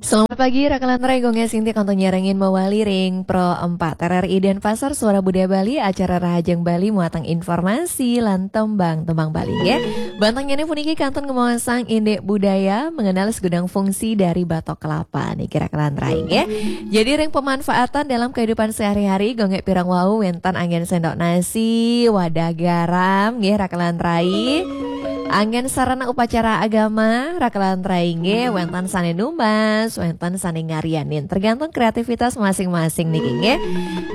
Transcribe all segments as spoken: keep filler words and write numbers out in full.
Selamat pagi, Rakalan Rai, Gongnya Sinti kantun nyarengin mawali ring Pro empat R R I Denpasar, Suara Budaya Bali, acara Rahajeng Bali, muatan informasi lan tembang-tembang Bali, nggih. Bantengnyane puniki kantun ngemaosang indik budaya, mengenal segudang fungsi dari batok kelapa niki, Rakalan Rai, nggih. Jadi ring pemanfaatan dalam kehidupan sehari-hari, Gongnya pirang wau wenten anggen sendok nasi, wadah garam, nggih, Rakalan Rai. Anggen sarana upacara agama, Rakalan Rai, nggih, wenten sane numbas, wenten sane ngarianin, tergantung kreativitas masing-masing niki, nggih.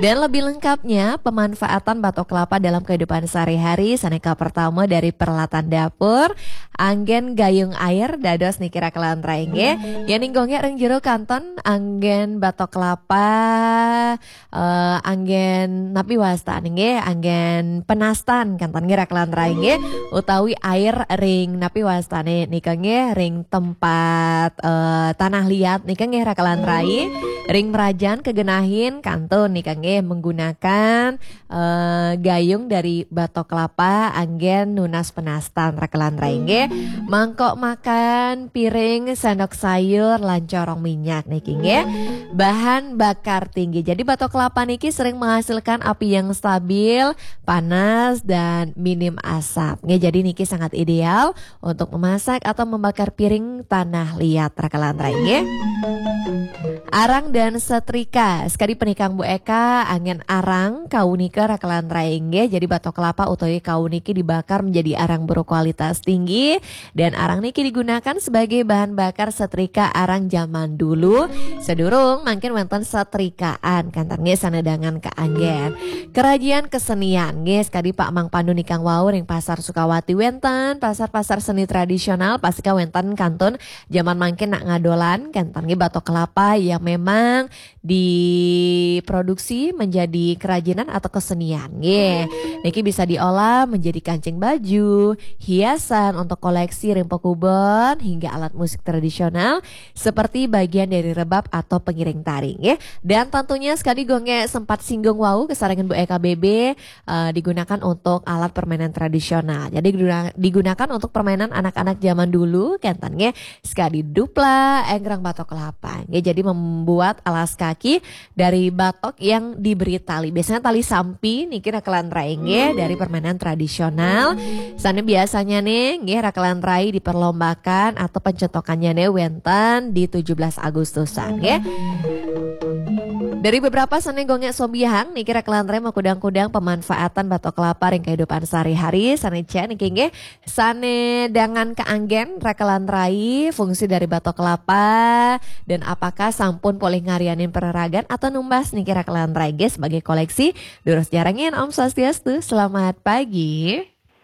Dan lebih lengkapnya, pemanfaatan batok kelapa dalam kehidupan sehari-hari, sane kapertama dari peralatan dapur, anggen gayung air, dados niki, Rakalan Rai, nggih. Yen ning Gongnya ring jero kantun, anggen batok kelapa, eh, anggen napi wastane, nggih, anggen penastan kantun, nggih, Rakalan Rai, nggih, utawi air ring napi wastane nika, nggih, ring tempat, eh, tanah liat nika, nggih, Rakalan Rai, ring merajan kegenahin kantun nika, nggih, menggunakan, eh, gayung dari batok kelapa anggen nunas penastan, Rakalan Rai, nggih. Mangkok makan, piring, sendok sayur, lan corong minyak niki, nggih. Bahan bakar tinggi. Jadi batok kelapa niki sering menghasilkan api yang stabil, panas, dan minim asap, nggih. Jadi niki sangat ideal untuk memasak atau membakar piring tanah liat, Rakalan Rai, nggih. Arang dan setrika. Sekadi penikang Bu Eka, anggen arang kau nika, Rakalan Rai, nggih. Jadi batok kelapa utawi kau niki dibakar menjadi arang berkualitas tinggi, dan arang niki digunakan sebagai bahan bakar setrika arang zaman dulu. Sedurung mangkin wenten setrikaan, kantun, nggih, sanedangan keanggen. Kerajinan kesenian, nggih, sekadi Pak Mang Pandu nikang wau ring Pasar Sukawati wenten, pasar-pasar seni tradisional, pastika wenten kantun zaman mangkin nak ngadolan, kantun, nggih, batok kelapa yang memang diproduksi menjadi kerajinan atau kesenian, nggih. Niki bisa diolah menjadi kancing baju, hiasan untuk koleksi ring pakubon, hingga alat musik tradisional seperti bagian dari rebab atau pengiring tari, nggih. Dan tentunya sekadi Gongnya sempat singgung wau, kesarengan Bu Eka B B, eh, digunakan untuk alat permainan tradisional. Jadi diguna-, digunakan untuk permainan anak-anak zaman dulu, kantun, nggih. Sekadi dupla, enggrang, batok kelapa, nggih. Jadi membuat alas kaki dari batok yang diberi tali. Biasanya tali sampi niki, Rakalan Rai, nggih, dari permainan tradisional. Sane biasanya nih, nggih, Rakalan Rai, diperlombakan atau pencotokannya nih wenten di tujuh belas Agustusan, nggih. Dari beberapa sane Gongnya sobiahang niki, Rakalan Rai, makudang-kudang pemanfaatan batok kelapa ring kehidupan sehari-hari, sane cek niki, nggih, sanedangan keanggen, Rakalan Rai, fungsi dari batok kelapa, dan apakah sampun polih ngarianin pereragan atau numbas niki, Rakalan Rai, nggih, sebagai koleksi. Durus nyarengin, Om Swastiastu, selamat pagi.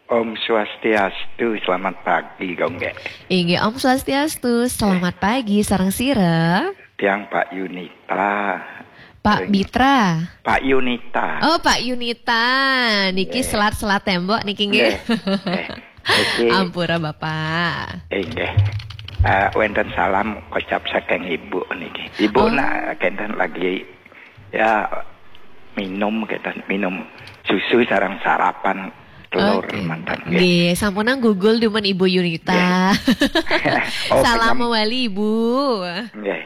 Om Swastiastu, selamat pagi, Gongge. Inggih, Om Swastiastu, selamat pagi, sareng sira? Tiang Pak Yunita. Pak Ring- Bitra. Pak Yunita. Oh, Pak Yunita. Niki, nggih, selat-selat tembok niki, nggih. Nggih. Eh, niki. Ampura, Bapak. Inggih. Eh, wenten salam kocap saking Ibu niki. Ibu, oh, nak kenten lagi, ya, minum, kenten minum susu sareng sarapan telur, oke, mantan, nggih. Nggih, sampunang gugul dumun Ibu Yunita. Nggih. Oh, salam kenyem- mawali, Ibu. Nggih.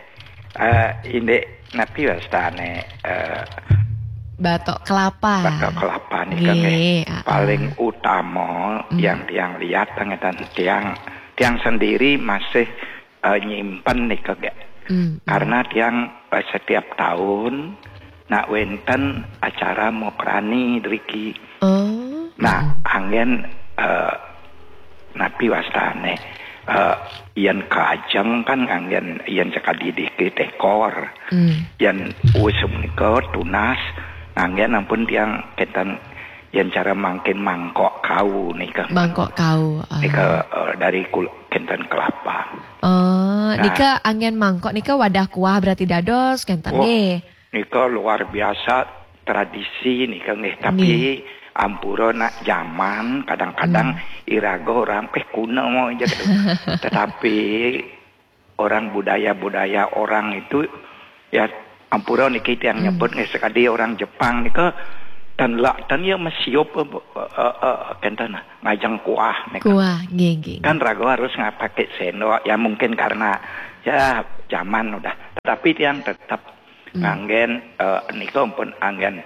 Eh, indik napi wastane, eh, batok kelapa. Batok kelapa nika, nggih, nggih, ah, ah, paling utama, mm, yang tiang lihat, ngeten, tiang, tiang sendiri masih, eh, nyimpen nika, nggih. Mm, mm. Karena tiang, eh, setiap tahun nak wenten acara mokrani driki. Oh. Nah, mm-mm, anggen, eh, napi wastane, eh, yen kajeng kan nganggen yen sekadi dikit ekor. Hmm. Yen wis menika tunas, nganggen ampun tiang kenten yen cara mangkin mangkok kau nika. Mangkok kau, ah. Nika, eh, dari kul-, kenten kelapa. Oh, nah, nika anggen mangkok nika wadah kuah berarti dados kenten, oh, nggih. Nika luar biasa tradisi nika nggih, tapi, nggih, ampura nak zaman kadang-kadang, hmm, iraga orang, "Eh, kuno mau aja," gitu. Tetapi orang, budaya-budaya orang itu, ya, ampura niki tiang, hmm, nyebut nggih, sekadi orang Jepang nika, ten lak ten ya mesiup, eh, eh, eh, kenten ngajeng kuah nika. Kuah, nggih, nggih, kan nggih, raga harus ngapake sendok. Ya, mungkin karena, ya, zaman udah. Tapi tiang tetap nganggen, eh, nika pun anggen,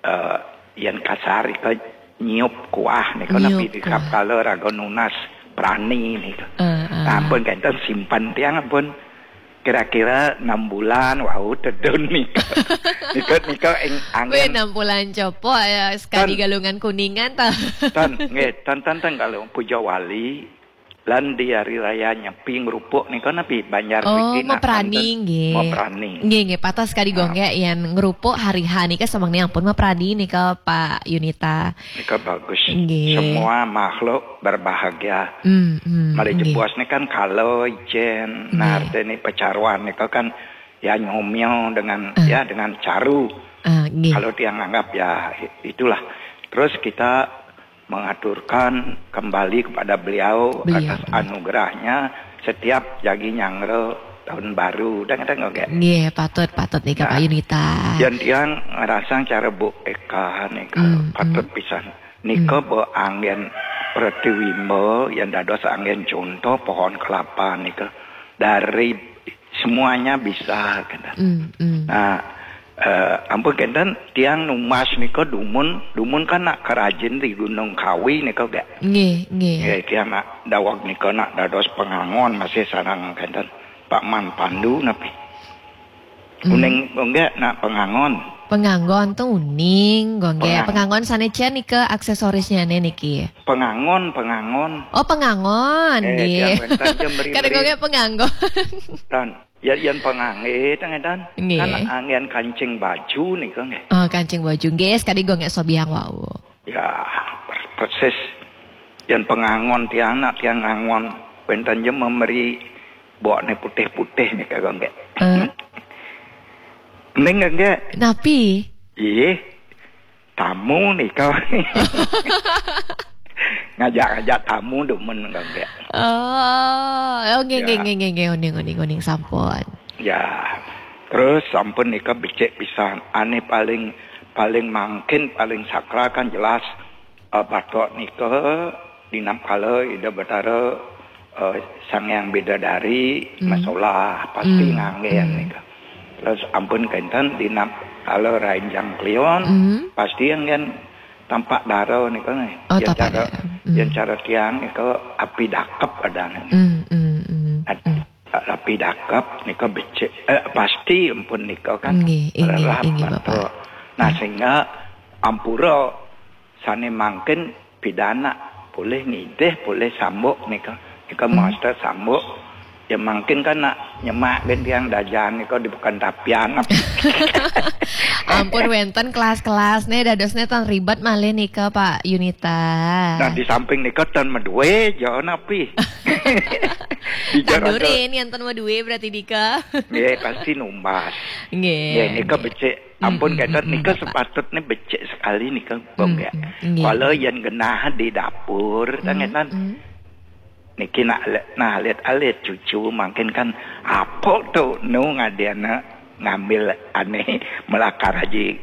eh, yen kasar ika nyiup kuah nika, nyiup tapi di kuah. Kala raga nunas prani nika. Uh, uh. Nah, ampun kenten simpan tiang ampun kira-kira enam bulan wau tedun nika. Nika nika ing angin. Weh, enam bulan copo ya sekali. Tan. Galungan Kuningan ta. Tan, nggih, tan tan tan kalau Puja Wali lan di hari raya Nyepi ngrupuk nika napi Banjar. Oh, mriki nak maprani, nggih. Maprani. Nggih, nggih, patut sekali. Ah. Gonggek yang ngrupuk hari H nika semangnya ampun maprani nika Pak Yunita. Nika bagus. Nggih. Semua makhluk berbahagia. Hmm, hmm, malih nggih. Jebos nika kan kala ijen, nggih. Nah, artine pecaruan nika kan ya nyomio dengan, ah, ya dengan caru. Ah, nggih. Kalau tiang anggap ya itulah. Terus kita mengaturkan kembali kepada beliau. Beliau, atas, nggih. Anugerahnya setiap jagi nyanggra tahun baru. Dang dang oke. Nggih, patut patut nika. Nah, Pak Yunita. Yang tiang ngerasa cara Bu Eka nika, hmm, patut, hmm, pisan. Nika, hmm, Bu anggen pratiwimba yang dados anggen contoh pohon kelapa nika. Dari semuanya bisa kenten. Hmm, hmm. Nah, eh, ampun kenten tiang numbas nika dumun, dumun kan nak kerajin di Gunung Kawi nika gak. Nggih, nggih. Nggih, tiang nak daweg nika nak dados pengangon masih sareng kenten Pak Man Pandu napi. Hmm. Uning gonggek nak pengangon. Pengangon tu uning gonggek. Pengang- Pengangon sane cen nika aksesorisnya ne niki. Pengangon, pengangon. Oh, pengangon, eh, nggih. Tiang wenten je meri-meri. Kadang gonggek pengangon. Tan, ya, yang pengangge, tang, tan. Nggih. Kan anggen kancing baju nika nggih. Oh, kancing baju. Nggih, sekali gonggek sobiang wau. Ya, per-, persis. Yang pengangon tiang nak tiang ngangon. Wenten je memberi bokne putih-putih nih kagak nggak. Eh? Ning nggak? Napi? Ih, tamu nih kau. Ngajak-ngajak tamu demen nggak? Oh, oh, nggih, ya. Nggih, nggih, nggih, nggih, uning, uning, uning, sampun. Ya, terus sampun nika becik pisan. Ane paling, paling mangkin, paling sakral kan jelas, eh, batok nika dinapkala Ida Betara, eh, Sang Hyang Bidadari, hmm, masolah, pasti, hmm, nganggen, hmm, nika. Terus ampun kenten dinapkala Rain Jangklion, hmm, pasti anggen tampak dara nika nih. Oh, yang tampak cara, dara. Hmm. Yang cara tiang nika api dakep adane. Hmm, hmm, hmm, hmm. Api dakep nika becik, eh, pasti ampun nika kan. Nggih, inggih, inggih, Bapak. Nah, hmm, sehingga ampura sane mangkin pidana boleh ngidih, boleh sambuk nika. Nika, hmm, master sambuk. Ya mangkin kan nak nyemak ben tiang dajan nika di bukan tapian. Ampun wenten kelas-kelas ne dadosne tan ribet malih nika Pak Yunita. Nah, di samping nika tan medue jo napi. Di jaraga. Tandurin yang tan medue berarti nika. Nggih, pasti numbas. Nggih, nggih, nika nggih. Becik. Ampun, mm, mm, kenten mm, nika Bapak. Sepatutnya becik sekali nika, mm, bong ya. Mm, nggih. Kalau yang genah di dapur, mm, kan ngeten. Mm. Niki nak le-, nah, lihat-lihat cucu mangkin kan apa tu nu ngadiana ngambil aneh melakar haji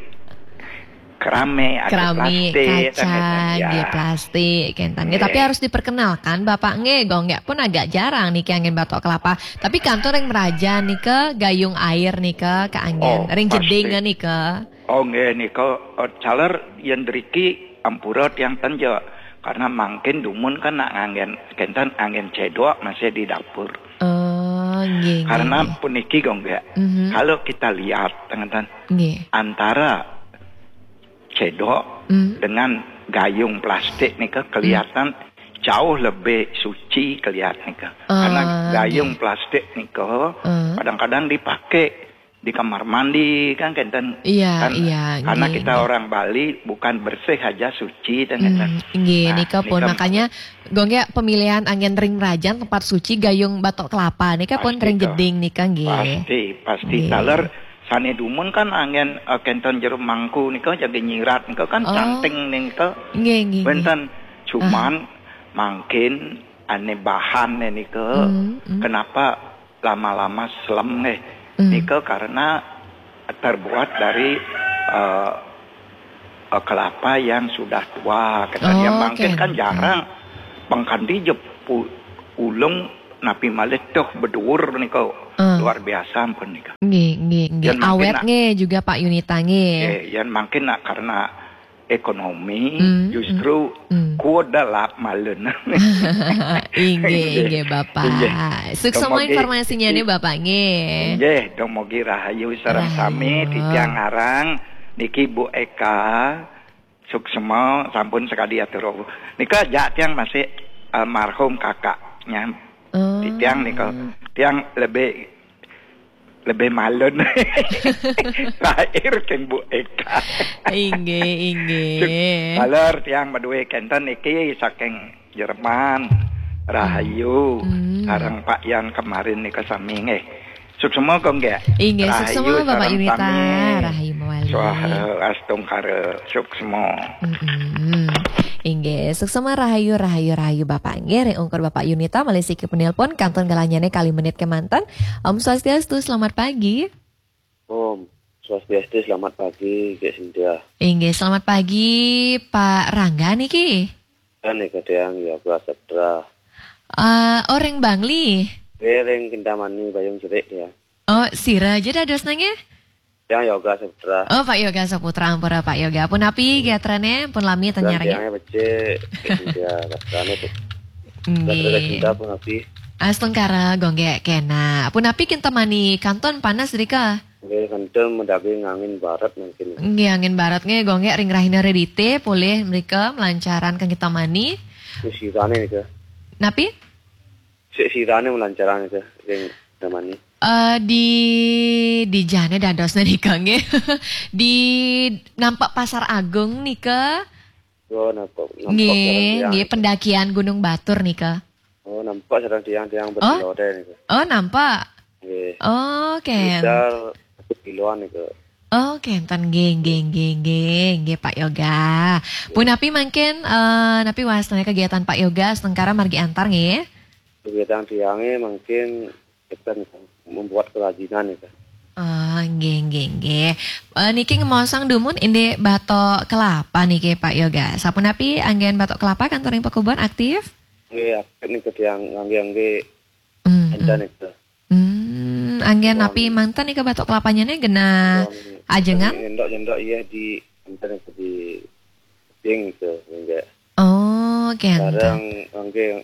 kerame atau kerame, plastik, kaca, kan ngeten, ya. Nggih, plastik, kenten. Nggih, nggih. Tapi harus diperkenalkan, Bapak nggih, gonggek pun agak jarang niki anggen batok kelapa. Tapi kantun ring merajan nika, gayung air nika, kaanggen. Oh, ring pasti. Jeding nika. Oh, nggih, nika, eh, caler yen driki ampura tiang tenja. Karena mangkin dumun kan nak nganggen, kenten anggen cedok masih di dapur. Oh, nggih, nggih, karena nggih. Puniki, gonggek. Mhm. Kalau kita lihat, kenten, nggih. Antara cedok, mm, dengan gayung plastik nika, mm, kelihatan jauh lebih suci kelihatan nika. Ah, karena gayung, nggih, plastik nika, mm, kadang-kadang dipakai di kamar mandi kan, kenten. Iya, kan, iya, karena nggih, kita, nggih, orang Bali bukan bersih aja suci kan, kenten. Mm, nggih, nah, nika pun nika makanya, gonggek, pemilihan anggen ring merajan tempat suci gayung batok kelapa nika pun pasti ring tuh. Jeding nika, nggih. Pasti, pasti. Nggih. Taler sane dumun kan anggen, eh, kenten jero mangku nika jaga nyirat nika kan, oh, canting nika. Nggih, nggih, nggih. Wenten, cuman, aha, mangkin ane bahane nika, hmm, hmm, kenapa lama-lama slem nggih? Hmm. Nika karena terbuat dari, eh, eh, kelapa yang sudah tua, katanya. Oh, mangkin oke, kan, hmm, jarang. Pengkanti je pu-, ulung Napi malih tuh beduur nika, ah, luar biasa ampun nika. Nggih, nggih, nggih. Yan mangkin awet nak, nggih juga Pak Yunita nggih. Eh, yan mangkin nak karena ekonomi, hmm, justru, hmm, hmm, kuda lap malun. Inggih, inggih, Bapak. Inggih. Suksma informasinya nih, Bapak nggih. Inggih, dumugi rahayu sareng sami, rahayu. Titiang ngarang niki Bu Eka. Suksma sampun sakadi atur. Nika jak tiang masih almarhum kakaknya. Oh. Tiang nika, tiang lebih, lebih malun. Lahir keng Bu Eka. Inggih, inggih. Suk-, taler tiang madue kenten niki saking Jerman. Rahayu. Hmm. Sareng Pak Yan kemarin nika sami nggih. Suksma kok nggih. Inggih, rahayu suksma Bapak sareng Yunita, sami. Rahayu mawali. Swaha astungkara suksma. Mm-mm. Inggih, suksma rahayu, rahayu, rahayu Bapak nggih. Ring ungkur Bapak Yunita malih siki penelpon kantun galahnyane kalih menit kemanten. Om Swastiastu, selamat pagi. Om Swastiastu, selamat pagi, Kak Sintia. Inggih, selamat pagi Pak Rangga niki. Kan nika tiang Yoga Saputra. Eh, orang Bangli. Eh, ring Kintamani Bayung Cerik ya. Oh, sira aja dadosna nggih? Tiang Yoga Saputra. Oh, Pak Yoga Saputra, ampura Pak Yoga. Punapi gatrane, pun lami tanyarane. Tiangnya becik, ya, gatrane tuh. Nggih. Gatrane cinta punapi. Astungkara gongge kena. Punapi Kintamani kantun panas rika? Nggih, kenten madaging angin barat mangkin. Nggih, angin barat nggih, gongge ring rahina redite, polih mrika malancaran kang Kintamani. Sik sirane nika. Napi? Sik sirane malancaran nika, ring Kintamani. Eh, di, di jane dadosna nika nggih. Di nampak Pasar Agung nika. Oh, nampak, nampak. Nggih, sareng tiang nggih, nika. Pendakian Gunung Batur nika. Oh, nampak sareng tiang-tiang. Oh? Berlode nika. Oh, nampak. Nggih. Oh, kenten. Sekitar satu kiloan nika. Oh, kenten nggih, nggih, nggih, nggih, nggih, Pak Yoga. Nggih. Punapi mangkin, eh, napi wasna kegiatan Pak Yoga astungkara margi antar nggih? Kegiatan tiange mangkin kita membuat kerajinan nika. Ah, nggih, nggih, nggih. Eh, niki ngemaosang dumun indik batok kelapa niki, Pak Yoga. Sapunapi anggen batok kelapa kantun ring pakubon aktif? Nggih, aktif nika tiang ngangge-ngangge. Hmm, enten hmm. Nika. Hmm, anggen napi manten nika batok kelapanya nih genah ajengan? Nyendok-nyendok iya di enten nika di kuping nika, nggih. Oh, kenten. Sareng ngangge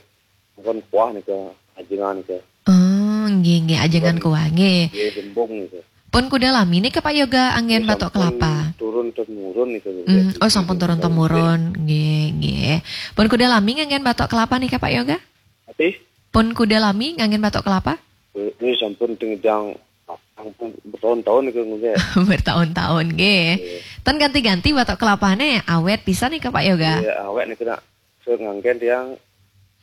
Pun kuah nika, ajengan nika. Oh, nggih, nggih, ajengan kuah, nggih. Nggih, jembung nika. Pun kuda lami nika, Pak Yoga, anggen batok kelapa? Nggih, sampun turun temurun nika, nggih. Hmm, oh, sampun turun temurun, nggih, nggih. Pun kuda lami nganggen batok kelapa nika, Pak Yoga? Ati? Pun kuda lami nganggen batok kelapa? Eh, nggih, sampun tengedang, sampun bertahun-tahun nika, nggih. Bertahun-tahun, nggih. Nggih. Ten ganti-ganti batok kelapane, awet pisan nika, Pak Yoga? Nggih, awet nika, nak. Sur nganggen tiang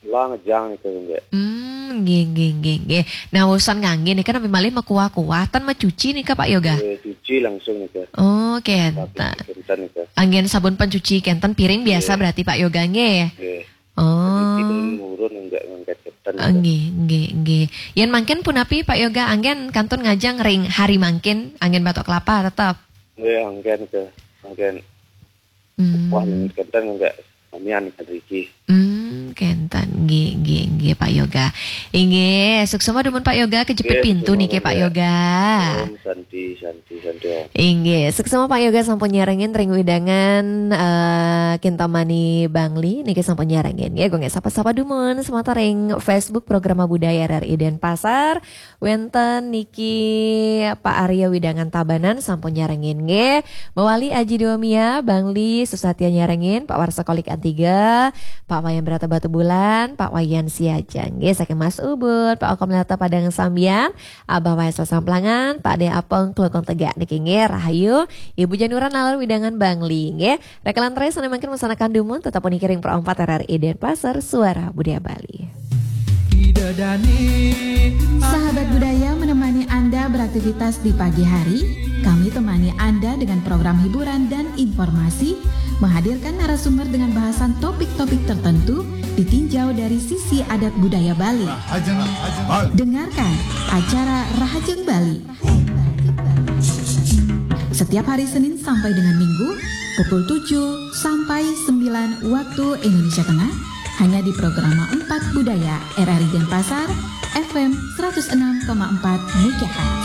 lah ngejang nika, nggih. Hmm, nggih, nggih, nggih, nggih. Nah, urusan ngangge nika napi malih makuah-kuah, ten macuci nika, Pak Yoga? Eh, cuci langsung nika. Oh, kenten. Tapi kenten nika. Anggen sabun pencuci kenten piring biasa berarti, Pak Yoga, nggih? Nggih. Oh. Cuci turun murun, nggak ngangkat kenten nika. Oh, nggih, nggih, nggih. Yen mangkin punapi, Pak Yoga, anggen kantun ngajeng ring hari mangkin, anggen batok kelapa tetep? Nggih, anggen ke, anggen. Hmm. Wah, kenten nggak samian kan riki. Hmm, kenten. Nggih, nggih, nggih, Pak Yoga. Inggih, suksma dumun Pak Yoga, kejepit pintu niki, Pak Yoga. Om Santi, Santi, Santi, Om. Inggih, suksma Pak Yoga sampun nyarengin ring wewidangan, eh, Kintamani Bangli niki sampun nyarengin. Nggih, kangge sapa-sapa dumun semata ring Facebook Programa Budaya R R I Denpasar. Wenten niki Pak Arya wewidangan Tabanan sampun nyarengin nggih. Mawali Aji Dewamia, Bangli, Susatya nyarengin, Pak Warsa Kolik Antiga, Pak Wayan Brata Batubulan, Pak Wayan Siaja nggih, saking Mas Ubud, Pak Okom Lata Padang Sambian, Abah Wayan Sasamplangan, Pak De Apeng Klungkung Tegak niki nggih, rahayu. Ibu Janura nalar wewidangan Bangli nggih. Rekalan terakhir sana mangkin maksanakan dumun, tetap niki ring Pro empat R R I Denpasar, Suara Budaya Bali. Sahabat budaya menemani Anda beraktivitas di pagi hari, kami temani Anda dengan program hiburan dan informasi, menghadirkan narasumber dengan bahasan topik-topik tertentu ditinjau dari sisi adat budaya Bali. Dengarkan acara Rahajeng Bali. Setiap hari Senin sampai dengan Minggu, pukul tujuh sampai sembilan waktu Indonesia Tengah, hanya di Programa empat Budaya R R I Denpasar, F M seratus enam koma empat megahertz.